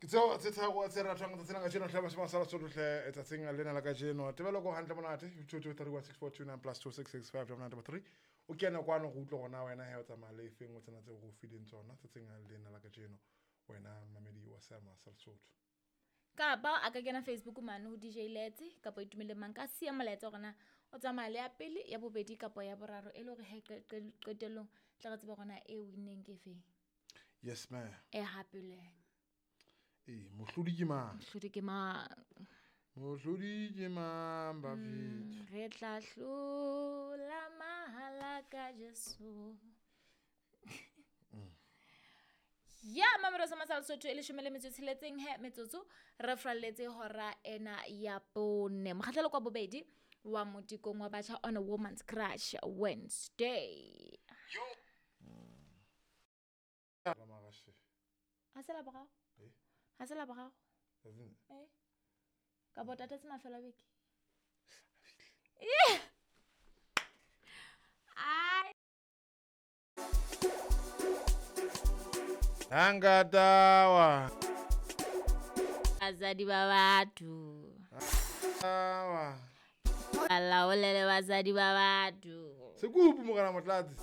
Ke tseo tse tharo tse ratwang tsatsing la kajeno hle bashima sa Lesotho hle tsatsing lena la kajeno. Tebelo ko hantle monate 2231642 plus 2665933. O kene kwano go utlwe gona wena he o tsamaya le efeng o tsena tse go fileng tsona tsatsing lena la kajeno wena mamedi wa seama sa Lesotho. Kapa a ka kena Facebook mane ho DJ Letse kapa Itumeleng Mang ka siya molaetsa hore na o tsamaya le ya pele, ya bobedi kapa ya boraro e le hore he qetellong tla re tsebe hore na e winneng ke efeng. Yes ma'am. E hapileng. Ee, mohlodi ke mang? Mohlodi ke mang? Mohlodi ke mang bafethu? Re tla hlola mahala ka Jesu. Ya mamelo sa masala Sotho e leshome le metso e tsheletseng he metsotso re fralletse hora ena ya bone. Mokgahlelo kwa bobedi wa motikong wa batjha on a Woman's Crush Wednesday. Ha se la boraro? Ha se la boraro? Eh. Ka bo tatetse mafelo a beke. Ai. Angatawa. Basadi ba batho. Awa. Ba laolele basadi ba batho. Sekupu morena Motlatsi.